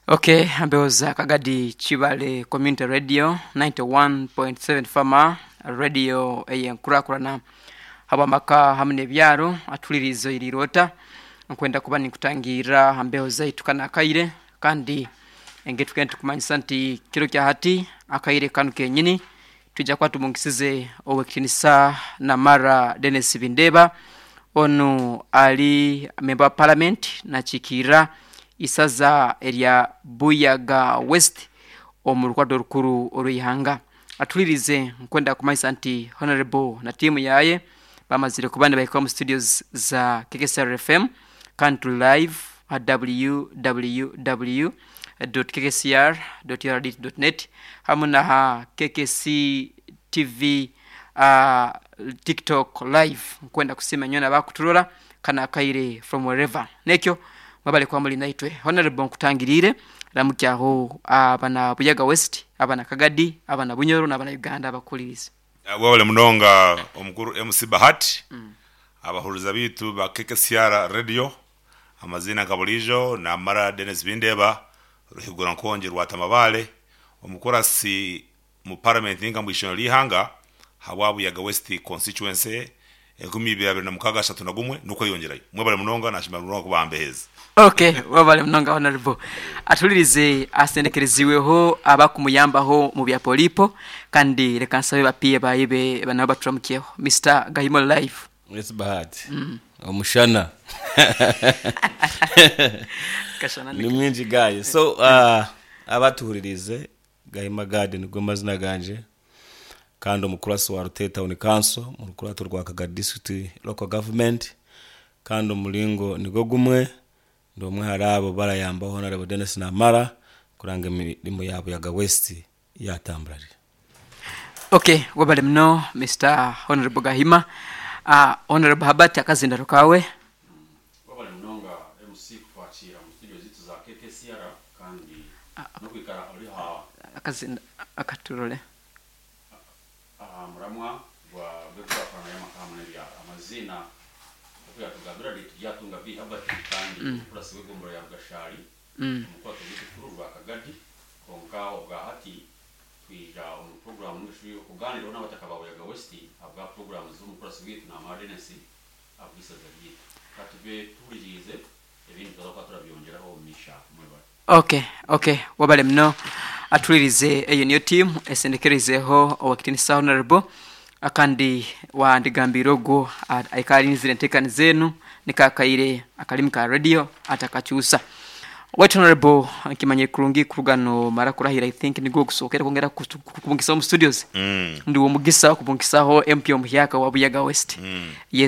Ok, mbeho za Kagadi Kibale Community Radio 91.7 Fama Radio ey'enkurakurana habw'amaka hamu n'ebyaro atuliriize oiriire ota nkwenda kuba ninkutangirra ha mbeho zaitu kanu akaire kandi engeri tugenda tukumanyisa nti kiro kya hati akaire kanu kenyini twija kuba tumungisize Owekitinisa Namara Denis Bindeeba onu ali memba wa Palamenti nakiikirra isaza erya Buyaga West omu rukwato orukuru orw'eihanga. Atuhulirize nkwenda kumanyisa nti Honourable na tiimu yaaye bamazire kuba nibahika omu studios za KKCR FM kandi turi live aha www dot kkcr dot ur dot net hamu naha KKC TV TikTok live. Nkwenda kusiima nyowe abakuturora kanu akaire from wherever. Nekyo mwebale kuba muri naitwe. Honourable nkutangiriire ramukyaho abana Buyaga West, abana Kagadi, abana Bunyoro nabana Uganda abakuhuliriize. Webale munonga omukuru MC Bahati, abahuriza baitu ba KKCR Radio, amaziina nka buriijo Namara Denis Bindeeba, Ruhigura Nkongi Rwatamabale, omukurasi omu Paramenti ninga omu ishomero ry'eihanga ahabwa Buyaga West Constituency 2026 31 n'okweyongyerayo. Mwebale munonga nashima munonga kubambeheeza. Ok webale munonga Honourable. Atuhulirize asendekereziibweho abakumuyambaho mu bya polipo kandi reka nsabe ba PA baye nabo baturamukyeho. Mister Gahima ori live. Yes Bahati. Omushana. Kashana Ni mwingi guy. So uh, abatuhuririize Gahima Gad nigo mazina gangye kandi omukurasi wa Rutare Town Council omu rukurato rwa Kagadi District Local Government kandi omuringo nigo gumwe ndi omwe ahari abo barayambaho Hon. Denis Namara kuranga emirimo ya Buyaga West yatambura gye. Ok webale muno Mister Honourable Gahima. Honourable Herbert akazindaro kawe. Webale munonga MC kutwakiira omu studio zaitu za KKCR kandi n'okwikara ori aha Akazinda akaturore. aha muramwa gwa gw'enkurakurana y'amaka hamwe n'ebyaro. Amaziina nk'oku yatugambira ndi Turyatunga B Herbert kandi omukurasi w'egombolola ya Rugashari omu rukwato rwaitu rukuru rwa Kagadi kwonka obwa hati Twija omu puroguraamu ninga shi okugaaniiraho n'abataka ba Buyaga West ahabwa puroguraamu z'omukurasi waitu Namara Denis ahabw'eisaza ryaitu. Ka tube tuhuririize ebindi turaza kuba turabyongyeraho omu maisho aho. Mwebare. Ok ok webale muno atuhuririze eyo niyo team esendekereizeho owekitinisa honourable akandi wandigambiire ogwo aikara arinzire entekaniza enu niko akaire akarimi ka radio atakakyusa. Waitu Honourable nkimanyire kurungi kuruga nomara kurahira I think nigwo ogusokere kwongera kukubungisaho omu studios. Ndi womugisa okubungisaho MP omuhyaka owa Buyaga West. Yes.